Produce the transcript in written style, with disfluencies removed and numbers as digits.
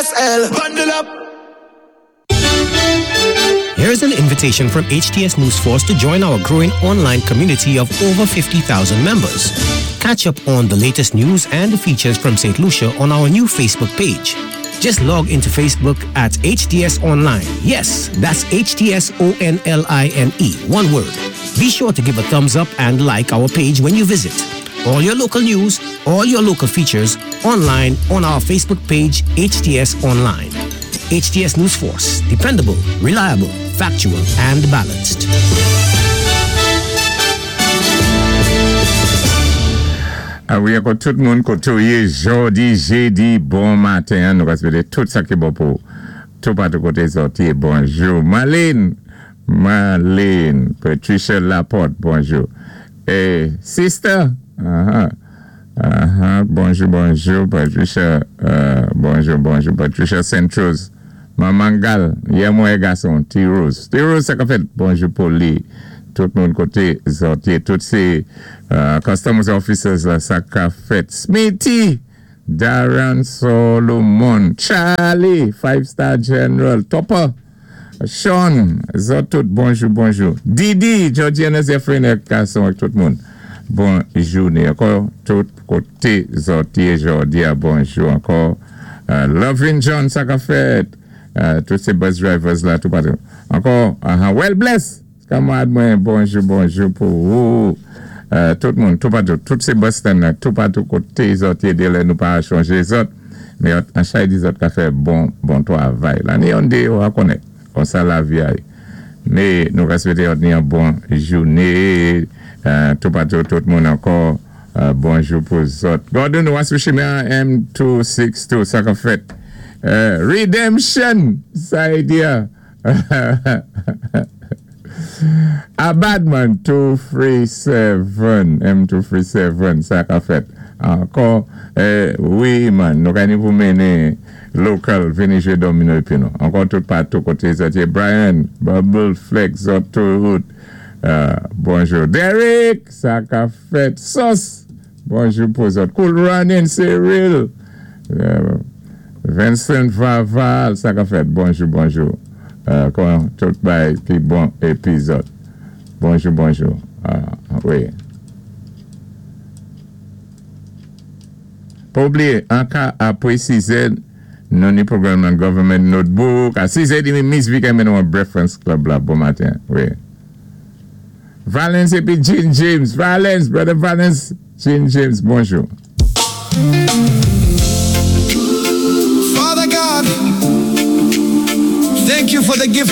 YSL. Bundle up. Here's an invitation from HTS News Force to join our growing online community of over 50,000 members. Catch up on the latest news and features from St. Lucia on our new Facebook page. Just log into Facebook at HTS Online. Yes, that's HTS O-N-L-I-N-E. One word. Be sure to give a thumbs up and like our page when you visit. All your local news, all your local features, online on our Facebook page, HTS Online. HTS News Force. Dependable, reliable, factual, and balanced. A wi, ankò tout moun koté ou yé jòdi, jédi, bon maten, nou ka swété tout sa ki bon pou tout patou koté zòt yé. Bonjou. Marlene, Marlene, Patricia Laporte, bonjou. É, sister, bonjou, bonjou, Patricia, bonjou, bonjou, Patricia Saint-Rose, Manmangal, yè mwen gason, T-Rose. T-Rose, sa ka fèt, bonjou pou li. Tout moun koté zòt yé, tout sé customs officers la, sa ka fèt. Smithy, Darren Solomon, Charlie, Five Star General, Topper, Sean, zòt tout, bonjou, bonjou. Didi, Georgiana Zephyrin, gason ak tout moun. Bon jouné ankò, tout koté zòt yé jòdi a, bonjou ankò. Lovin John, sa ka fèt. Tout sé bus drivers la, tout patou. Ankò, well bless. Kanmarad mwen, bonjou, bonjou pou ou. Tout moun, tout patou, tout sé bus stand la, tout patou koté zòt yé dé lè nou pa chonjé zòt. Men an chay di zòt ka fè bon, bon twavay. La ni yon dé yo a konnèt. Konsa lavi a yé. Men nou ka swété ni yon bon jouné. Tout patou, tout moun ankò, bonjou pou zòt. Gordon, ou sou chimen M262, sa ka fèt. Redemption, sa yé di a. A Badman 237, M237, sa ka fèt. Ankò, wi man, nou ka ni pou mennen local vini jwé domino épi nou. Ankò tout patou koté zòt yé. Brian, Bubble, Flex, zòt tout. Bonjou. Derek, sa ka fèt. Sos, bonjou pou zòt. Cool Running, Cyril. Vincent Vaval, sa ka fèt. Bonjou, bonjou. Kon tout bay ki bon épi zòt. Bonjou, bonjou. Wi. Pa oubliyé, an ka apwé 6 è, nou ni pwogram nan Government Notebook. A 6 è demi, Miss Vicky mennen an Breakfast Club la. Bon maten. Wi. Valence épi Jean James. Valence, brother Valence, Jean James, bonjou. Father God, thank you for the gift.